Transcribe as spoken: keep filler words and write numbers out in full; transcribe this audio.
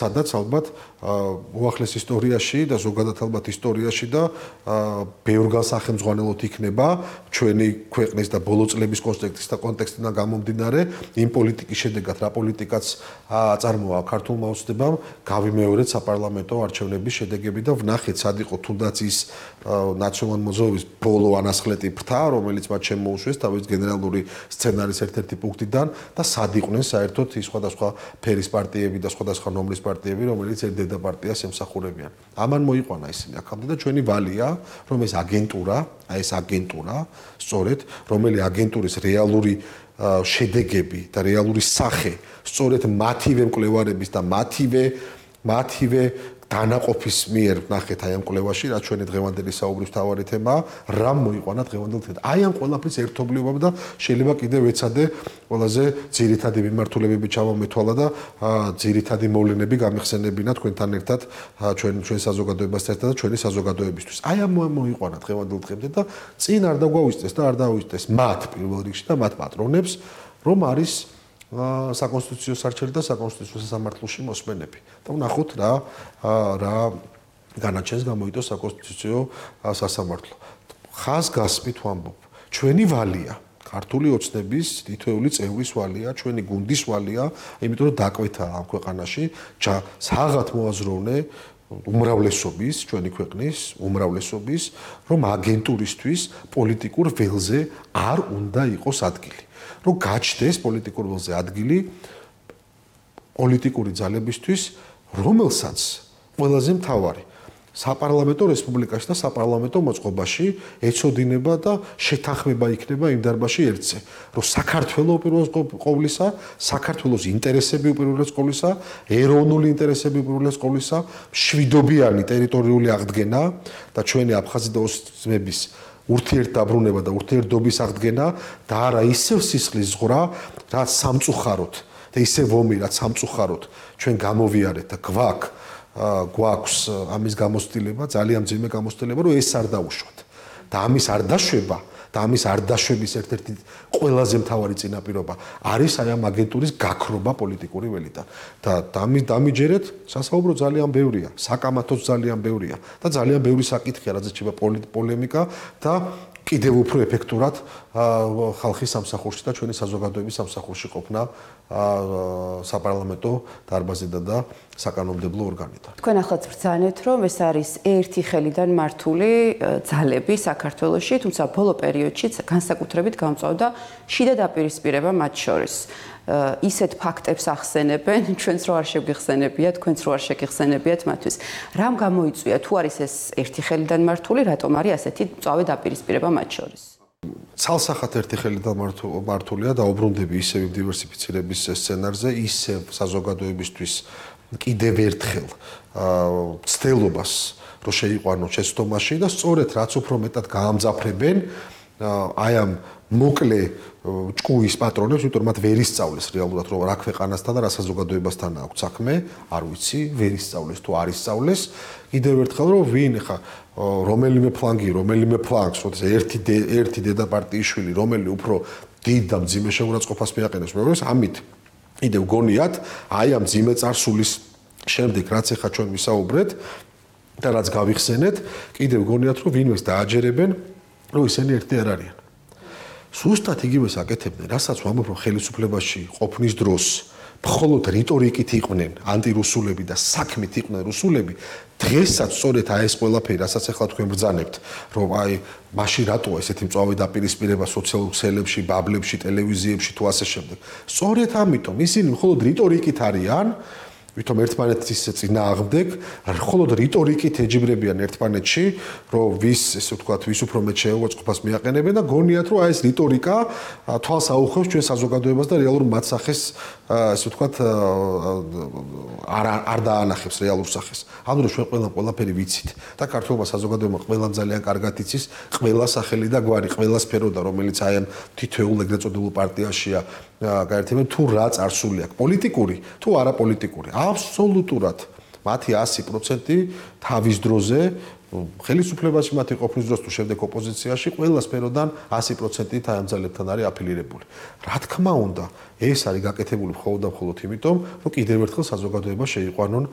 სადაც ალბათ უახლეს ისტორიაში და ზოგადად ალბათ ისტორიაში და ბევრ განსახელმძღვანელოდ იქნება ჩვენი ქვეყნის და ბოლო წლების კონტექსტის და კონტექსტიდან გამომდინარე იმ პოლიტიკის შედეგად რა პოლიტიკაც აწარმოა ქართულმა ოცნებამ გავიმეორეთ საპარლამენტო არჩევნების შედეგები და ვნახეთ სად იყო თუნდაც ის ნაციონალ მოძრაობის ბოლო ანასხლეტი ფრთა რომელიც მათ შემოუშვეს თავის გენერალური სცენარის ერთ-ერთი პუნქტიდან და სად იყვნენ საერთოდ ის სხვადასხვა ფერის პარტიები და სხვადასხვა ნომრის პარტიები რომელიც ერთ დედა პარტიას ემსახურებიან. ამან მოიყვანა ისინი აქამდე და ჩვენი ვალია რომ ეს აგენტურა, აი ეს აგენტურა, სწორედ რომელი აგენტურის რეალური შედეგები და რეალური სახე, სწორედ მათივე მკვლევარების და მათივე მათივე დანაყოფის მიერ ნახეთ აი ამ კვლევაში, რაც ჩვენი დღევანდელი საუბრის მთავარი თემაა, რა მოიყვანა დღევანდელ თემად. აი ამ ყველაფრის ერთობლიობა და შეიძლება კიდევ ეცადე ყველაზე ძირითადი მიმართულებები ჩავამეთვალა და ძირითადი მოვლენები გამიხსენებინა თქვენთან ერთად ჩვენ ჩვენ საზოგადოებასთან ერთად და ჩვენი საზოგადოებისთვის. აი ამ მოიყვანა დღევანდელ თემად და წინ არ დაგვაუწყდეს და არ დაუწყდეს მათ პირველ რიგში და მათ პატრონებს, რომ არის საკონსტიტუციო სარჩელი და საკონსტიტუციო სასამართლოში მოსმენები. და ვნახოთ რა რა განაჩენს გამოიტოს საკონსტიტუციო სასამართლო. ხაზგასმით ვამბობ, ჩვენი ვალია, ქართული ოცნების თითოეული წევრის ვალია, ჩვენი გუნდის ვალია, იმიტომ რომ დაკვეთა ამ ქვეყანაში საღად მოაზროვნე უმრავლესობის, ჩვენი ქვეყნის უმრავლესობის, რომ აგენტურისთვის პოლიტიკურ ველზე არ უნდა იყოს ადგილი. რომ გაჩნდეს პოლიტიკურ ველზე ადგილი პოლიტიკური ძალებისთვის, რომელსაც ყველაზე მთავარი საპარლამენტო რესპუბლიკაში და საპარლამენტო მოწყობაში ეცოდინება და შეთანხმება იქნება იმ დარბაზში ერთზე, რომ საქართველოს უპირველეს ყოვლისა, საქართველოს ინტერესები უპირველეს ყოვლისა, ეროვნული ინტერესები უპირველეს ყოვლისა, მშვიდობიანი ტერიტორიული აღდგენა და ჩვენი აფხაზი და ოსეთის ურთიერთდაბრუნება და ურთიერთდობის აღდგენა და არა ისევ სისხლის ზღვრა, რაც სამწუხაროდ და ისევ ომი, რაც სამწუხაროდ ჩვენ გამოვიარეთ და გვაქვს გვაქვს ამის გამოცდილება, ძალიან მძიმე გამოცდილება, რომ ეს არ დაუშვათ. და ამის არ დაშვება და ამის არ დაშვების ერთ-ერთი ყველაზე მთავარი წინაპირობა არის აი ამ აგენტურის გაქრობა პოლიტიკური ველიდან. და დამიჯერეთ, სასაუბრო ძალიან ბევრია, საკამათოც ძალიან ბევრია და ძალიან ბევრი საკითხია, რაც ეჩება პოლემიკა და კიდევ უფრო ეფექტურად ხალხის სამსახურში და ჩვენი საზოგადოების სამსახურში ყოფნა საპარლამენტო დარბაზიდან და საკანონმდებლო ორგანიდან. თქვენ ახლა ბრძანეთ, რომ ეს არის ერთი ხელიდან მართული ძალები საქართველოში, თუმცა ბოლო პერიოდში განსაკუთრებით გამწვავდა შიდა დაპირისპირება მათ შორის. ისეთ ფაქტებს ახსენებენ, ჩვენც რო არ შეგიხსენებიათ, თქვენც რო არ შეგიხსენებიათ მათთვის. რამ გამოიწვია თუ არის ეს ერთი ხელიდან მართული, რატომ არის ასეთი მწვავე დაპირისპირება მათ შორის? ცალსახად ერთი ხელიდან მართულია და უბრუნდები ისევ დივერსიფიცირების სცენარზე, ისევ საზოგადოებისთვის კიდევ ერთხელ ცდელობას რომ შეიყვანოს შეცდომაში და სწორედ რაც უფრო მეტად გაამძაფრებენ აი ამ მოკლე ჭკუის პატრონებს, იმიტომ რომ მათ ვერ ისწავლეს რეალურად რომ რა ქვეყანასთან და რა საზოგადოებასთან აქვს საქმე, არ ვიცი, ვერ ისწავლეს თუ არ ისწავლეს. კიდევ ერთხელ რომ ვინ ხა რომელიმე ფლანგი, რომელიმე ფლანგს, როდეს ერთი ერთი დედა პარტიის შვილი, რომელი უფრო დიდ და მძიმე შეურაცხყოფას მიაყენებს პრობლემას, ამით კიდევ გონიათ აი ამ მძიმე წარსულის შემდეგ, რაც ახლა ჩვენ ვისაუბრეთ და რაც გავიხსენეთ, კიდევ გონიათ რომ ვინმეს დააჯერებენ, რომ ისინი ერთი არ არიან. სუსტად იგივეს აკეთებდნენ, რასაც ვამბობ, რომ ხელისუფლებაში ყოფნის დროს მხოლოდ რიტორიკით იყვნენ ანტირუსულები და საქმით იყვნენ რუსულები, დღესაც სწორედ აი ეს ყველაფერი, რასაც ახლა თქვენ ბრძანებთ, რომ აი მაშინ რატოა ესეთი მწვავე დაპირისპირება სოციალურ ქსელებში, ბაბლებში, ტელევიზიებში თუ ასე შემდეგ. სწორედ ამიტომ ისინი მხოლოდ რიტორიკით არიან, ვითომ ერთმანეთის წინააღმდეგ, მხოლოდ რიტორიკით ეჯიბრებიან ერთმანეთში, რომ ვის, ესე ვთქვათ, ვის უფრო მეტ შეურაცხყოფას მიაყენებენ და გონიათ, რომ აი ეს რიტორიკა თვალს აუხევს ჩვენ საზოგადოებას და რეალურ მათსახეს, ესე ვთქვათ, არ არ დაანახებს რეალურ სახეს. ანუ რომ ჩვენ ყველამ ყველაფერი ვიცით და ქართულმა საზოგადოებამ ყველამ ძალიან კარგად იცის ყველა სახელი და გვარი, ყველა სფეროდა, რომელიც აი ამ თითოეულ ეგრეთ წოდებულ პარტიაშია გაერთიანებული, თუ რა წარსული აქვს, პოლიტიკური თუ არაპოლიტიკური. აბსოლუტურად მათი ასი პროცენტი თავის დროზე ხელისუფლებაში მათი ყოფნის დროს თუ შემდეგ ოპოზიციაში ყველა სფეროდან ასი პროცენტით აი ამ ძალებთან არის აფილირებული. რა თქმა უნდა, ეს არის გაკეთებული მხოლოდ და მხოლოდ იმიტომ, რომ კიდევ ერთხელ საზოგადოება შეიყვანონ